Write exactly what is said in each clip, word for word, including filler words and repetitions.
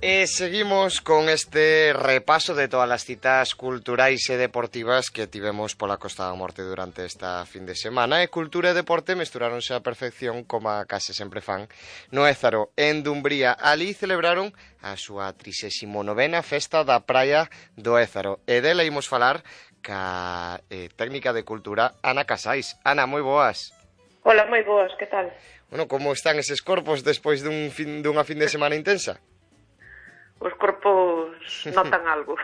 E seguimos con este repaso de todas as citas culturais e deportivas que tivemos pola Costa da Morte durante esta fin de semana. E cultura e deporte mesturaronse a perfección como a case sempre fan no Ézaro, en Dumbría. Ali celebraron a súa trixésima novena festa da praia do Ézaro. E dela imos falar ca eh, técnica de cultura Ana Casais. Ana, moi boas. Hola, moi boas, que tal? Bueno, como están eses corpos despois dun fin, dunha fin de semana intensa? Os corpos notan algo.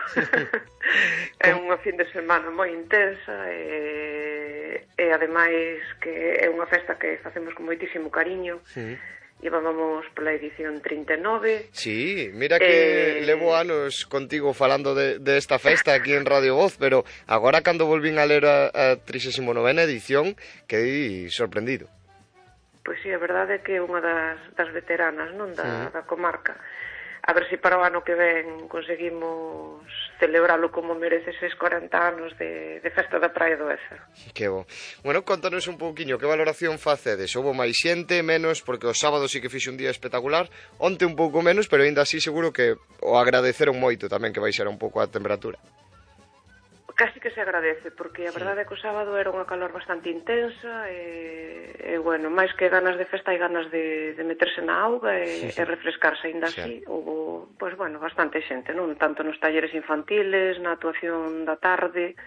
É unha fin de semana moi intensa e, e ademais que é unha festa que facemos con moitísimo cariño. Sí. Llevábamos pola edición trinta e nove. Sí, mira que eh... levo anos contigo falando de, de esta festa aquí en Radio Voz, pero agora cando volvín a ler a, a trixésima novena edición quedei sorprendido. Pois sí, a verdade é que é unha das, das veteranas, non, da, sí. da comarca. A ver se para o ano que ven conseguimos celebralo como merece eses corenta anos de, de festa da Praia do Ézaro. Que bo. Bueno, contanos un pouquiño, que valoración facedes? Houbo máis xente, menos, porque o sábado sí que fixe un día espectacular, onte un pouco menos, pero aínda así seguro que o agradeceron moito tamén que baixara un pouco a temperatura. Casi que se agradece, porque a verdade é que o sábado era unha calor bastante intensa e, e bueno, máis que ganas de festa hai ganas de, de meterse na auga e, sí, sí. e refrescarse, ainda sí. así houve, pois bueno, bastante xente, non? Tanto nos talleres infantiles, na actuación da tarde,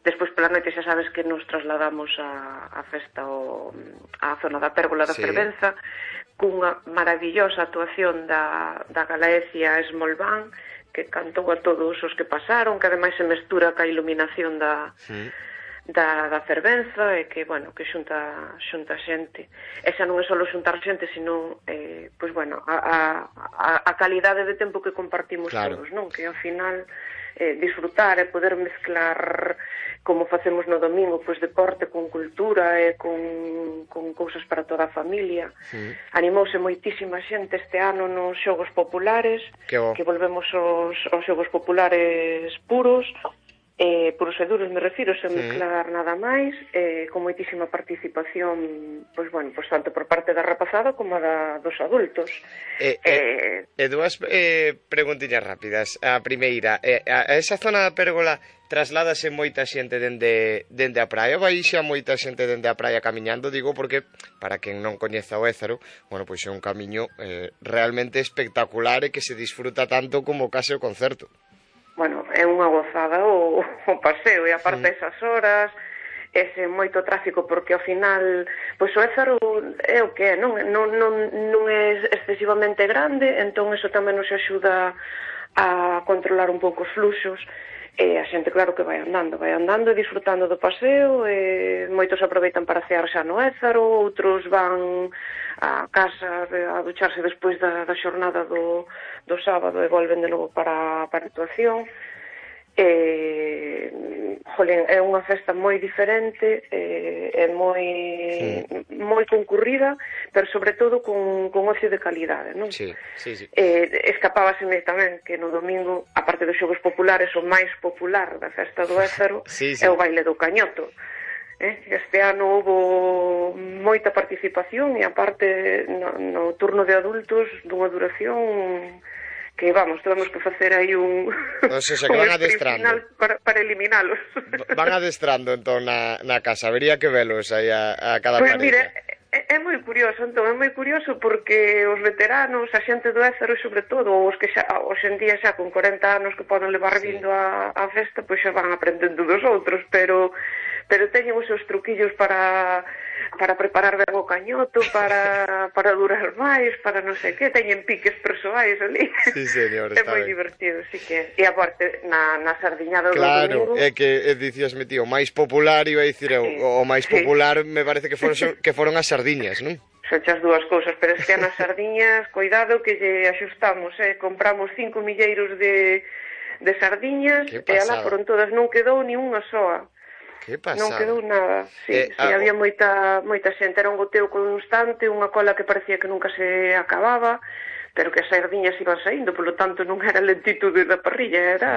despois pola noite xa sabes que nos trasladamos a, a festa o, a zona da Pérgola da sí. Fervenza, cunha maravillosa actuación da, da Galaecia Small Band, que cantou a todos os que pasaron, que ademais se mestura ca iluminación da, sí. da, da fervenza, e que, bueno, que xunta, xunta xente. E xa non é só xuntar xente, sino, eh, pois, bueno, a, a, a calidade de tempo que compartimos claro. todos, non? Que ao final eh, disfrutar e poder mezclar, como facemos no domingo, pois deporte con cultura e con, con cousas para toda a familia. Sí. Animouse moitísima xente este ano nos xogos populares, que, que volvemos aos, aos xogos populares puros, eh, puros e duros me refiro, sen sí. mezclar nada máis, eh, con moitísima participación, pois bueno, pois tanto por parte da rapazada como da dos adultos. Eh, eh, eh, e dúas eh, preguntiñas rápidas. A primeira, eh, a esa zona da Pérgola trasládase moita xente dende, dende a praia, vai xa moita xente dende a praia camiñando, digo, porque para quen non coñeza o Ézaro, bueno, pois é un camiño eh, realmente espectacular e que se disfruta tanto como case o concerto. Bueno, é unha gozada o, o paseo, e aparte sí. esas horas, ese moito tráfico, porque ao final, pois o Ézaro é o que é, non, non, non, non é excesivamente grande, entón eso tamén nos axuda a controlar un pouco os fluxos. E a xente, claro, que vai andando, vai andando e disfrutando do paseo, e moitos aproveitan para cear xa no Ézaro, outros van a casa a ducharse despois da, da xornada do, do sábado e volven de novo para, para a actuación. E, jolín, é unha festa moi diferente, é, é moi sí. moi concurrida, pero sobre todo con, con ocio de calidade, non? Sí, sí, sí. E, escapábaseme tamén que no domingo, aparte dos xogos populares, o máis popular da festa do Ézaro sí, sí. é o baile do cañoto. Eh? Este ano houve moita participación e aparte no, no turno de adultos dunha duración que, vamos, temos que facer aí un, o sea, que van adestrando para, para eliminalos. Van adestrando, entón, na, na casa. Habería que velos aí a, a cada pues, parella. Mire, é, é moi curioso, entón, é moi curioso porque os veteranos, a xente do Ézaro, sobre todo, os que xa, hoxe en día xa con corenta anos que poden levar sí. vindo a, a festa, pois xa van aprendendo dos outros, pero pero teñen os seus truquillos para para preparar ben o cañoto, para, para durar máis, para non sei que, teñen piques persoais ali. Sí, señor, é moi ben. Divertido, sí que. E aparte, na, na sardiñada do claro, domingo... é que dicíasme, tío, o máis popular, iba a dicir eu, sí, o máis sí. popular me parece que foron, que foron as sardiñas, non? Son as dúas cousas, pero es que nas sardiñas, cuidado que lle axustamos, eh? Compramos cinco milleiros de, de sardiñas, e alá foron todas, non quedou ni unha soa. Que pasada. Non quedou nada, sí, eh, sí ah, había moita moita xente, era un goteo constante, unha cola que parecía que nunca se acababa, pero que as sardiñas iban saindo, polo tanto non era lentitude da parrilla, era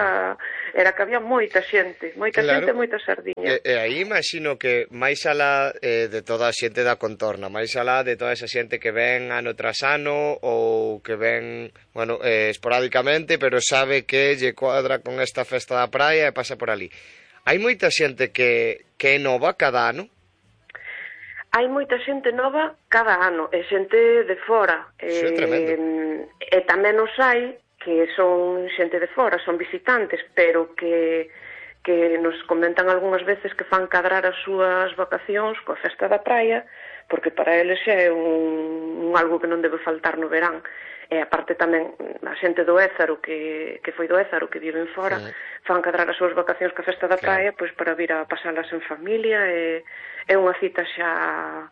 era que había moita xente, moita Claro. xente, moita sardiña. E, e aí imagino que máis alá eh, de toda a xente da contorna, máis alá de toda esa xente que ven ano tras ano ou que ven, bueno, eh, esporádicamente, pero sabe que lle cuadra con esta festa da praia e pasa por ali. Hai moita xente que, que é nova cada ano? Hai moita xente nova cada ano, e xente de fora. Isso é tremendo. E, e tamén os hai que son xente de fora, son visitantes, pero que, que nos comentan algunhas veces que fan cadrar as súas vacacións coa festa da praia, porque para eles xa é un, un algo que non debe faltar no verán. E aparte tamén a xente do Ézaro, que, que foi do Ézaro, que viven fora, sí. fan cadrar as súas vacacións coa festa da praia, claro. Pois para vir a pasalas en familia, e é unha cita xa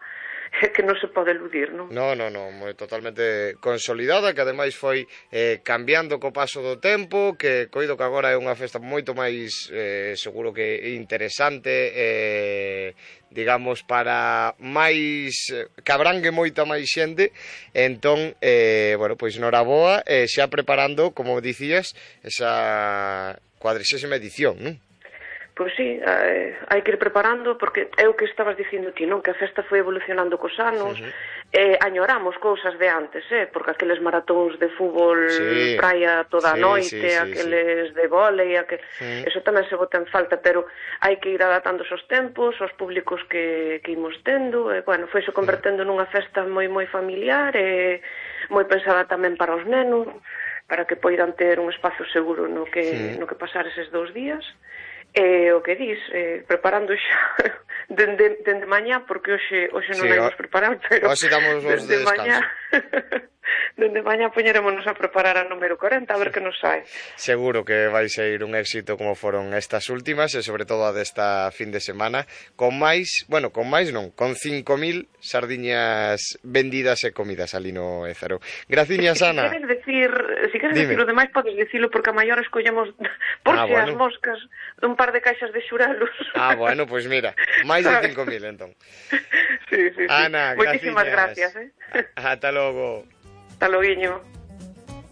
que non se pode eludir, non? Non, non, non, moi totalmente consolidada, que ademais foi eh, cambiando co paso do tempo, que coido que agora é unha festa moito máis, eh, seguro que interesante, eh, digamos, para máis, que abrangue moita máis xente, entón, eh, bueno, pois noraboa, eh, xa preparando, como dicías, esa cuadrixésima edición, non? Pois sí, eh, hai que ir preparando, porque é o que estabas dicindo ti, non? Que a festa foi evolucionando cos anos, uh -huh. eh, añoramos cousas de antes, eh? Porque aqueles maratóns de fútbol sí. praia toda a sí, noite, sí, sí, aqueles sí. de vólei, aquel... uh-huh. Eso tamén se bota en falta, pero hai que ir adaptando os tempos, os públicos que, que imos tendo, e, bueno, foi se convertendo uh -huh. nunha festa moi moi familiar, e moi pensada tamén para os nenos, para que poidan ter un espazo seguro no que, sí. no que pasar eses dous días. E o que dis, eh, preparando xa dende, dende mañá, porque hoxe, hoxe non sí, vamos preparar, pero hoxe damos os de mañá dende mañá poñerémonos a preparar a número corenta, a ver que nos sai. Seguro que vai ser un éxito como foron estas últimas, e sobre todo a desta fin de semana, con máis, bueno, con máis non, con cinco mil sardiñas vendidas e comidas ali no Ézaro. Graciñas, Ana. Si queres decir, si queres decir o demais, podes dicilo, porque a maior escollemos, por ah, si bueno. as moscas, un par de caixas de xurelos. Ah, bueno, pois pues mira, máis de cinco mil, entón. Sí, sí, sí. Ana, moitísimas gracias, eh? Ata logo. Hasta loguiño.